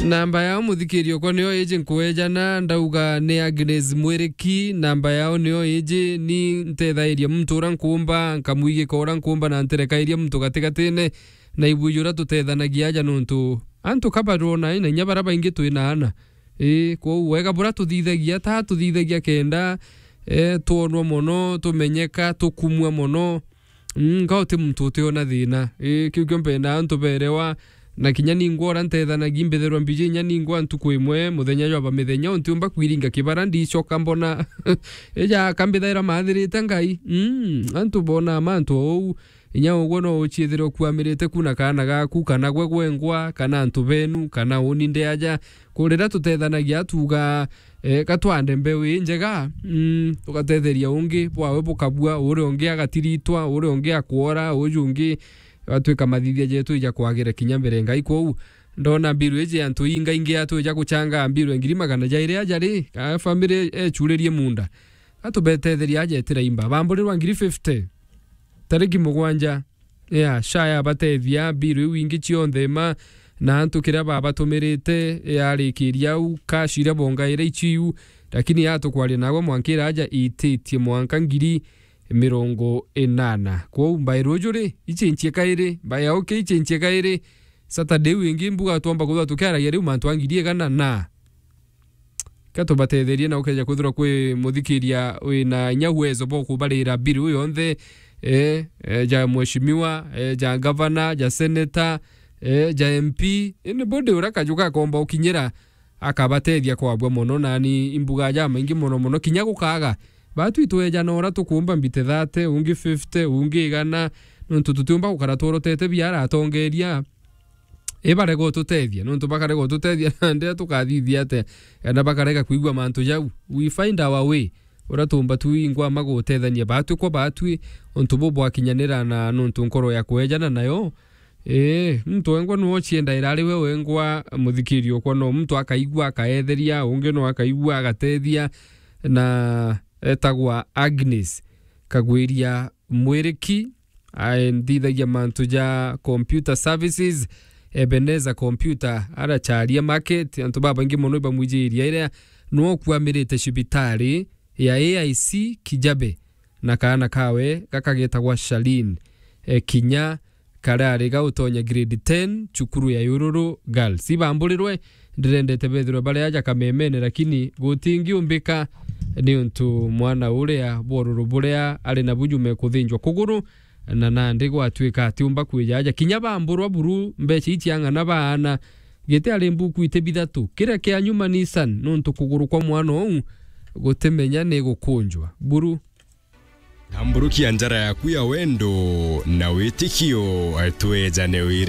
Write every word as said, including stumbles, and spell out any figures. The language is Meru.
Namba yao, muthikiri okwa, niyo iji nkuejana, ndauga ni Agnes Mwiriki. Namba yao niyo iji, ni ntethairia muntu ura nkumba, nkamwigika ura nkumba, na ntirekairia muntu gatigatine, na ibwiji uria tutethanagia aja, nontu antu ka barona, na inya bara baingi twina ana. Ii, kwou wega bura tuthithagia, ta tuthithagia kenda, eh, twonwa mono, tumenyeka, tukumua mono. Mm, nga uti muntu utiona thina. Ii, kiu kio mpendaa antu berewa, na kinya ningwa ura ntethanagia, mbithairwa mbiji inya ningwa ntuku imwe, muthenya jwa ba mithenya, untiumba kwiringa kibara, ndicoka mbona. Ija ka mbithaira maathirite Ngai. Mm, antu bona mantu ou, inya ugwe no uciithire ukuamirite ku na kaana gaku, kana gwe gwengwa, kana antu benu, kana uni ndi aja. Ku riria tutethanagia, tuuga, eh, ka twande mbeu injega, mm, tugatetheria ungi, bwawe bukabua, uria ungi agatiritwa, uria ungi akwora, uju ungi agatwika mathithia jetu ija kwagira kinya mbere Ngai. Kwou, ndona mbiru iji antu ingaingi atwija gucanga mbiru ya ngiri magana jairi aja ri, ka family echuririe munda. Atubetetheria aja etira imba. Bamburirwa ngiri fifty. Tariki mugwanja. Ya, sha yabatethia, mbiru iu ingi cionthe ma, na antu kiria babatumirite, yarikiria au, cash iria bongaire icio iu, lakini yatukwaria nagwe mwanka iraja ititie mwanka ngiri mirongo inana. Kwou mbae ruju ri, ichenchie kairi, mbae ya uke ichenchie kairi, Saturday iu ingi mbuga twomba kuthwa tukiaragia riu mantu a ngiri igana na. Ka tubatetherie na ukeja kwithirwa kwi muthikiria wina inya uwezo bwa kubarira bill iu yonthe, eh, eh, ja mheshimiwa, eh, ja gavana, ja senator, eh, ja M P, anybody uria kaju gakomba ukinyira akabatethia kwabua mono, nani imbuga jamaingi mono mono, kinya gukaga. Batwi twejana uria tukumba mbite thirty, ungi fifty, ungi igana, nontu tutiumba gukara tworotete biara atongeria. I barega ututethia, nontu bakarega ututethia, na ndira tukathithia atia? Kana bakarega kwigua mantu jau. We find our way. Uria tuumba twingwa ma gutethania batwi kwa batwi, untu bu bwakinyanira na nontu nkoro ya kwejana nayo. Ii, muntu wengwa nwe uciendaira ari we wengwa, muthikiri okwa, no muntu akaigua akaetheria, ungi no akaigua agatethia, na etagwa Agnes Kagwiria Mwiriki. Ai, nthithagia mantu ja computer services, Ebenezer Computer, aracharia market, antu babaingi mono ibamwijiria iria nwe ukuamirite cibitari ya A I C Kijabe, na kaana kawe gaka getagwa Shalin, e, kinya karari ga utonya grade ten, cukuru ya Yururu Girls. Ibamburirwe, ndirendete bethirwe bari aja kamemene, lakini gutingiumbika, niuntu mwana uria bworuru buria ari nabu jume kuthinjwa kuguru, na nandi gwatwika atiumba kwija aja. Kinya bamburwa buru mbeca iu ciang'ana baana, giti ari mbuku iti bithatu. Kiria kia nyuma Nissan, nuntu kuguru kwa mwana uu gutimenya ni gukunjwa. Buru. Tamburukia njara yaku ya wendo na witikio, twejane wira.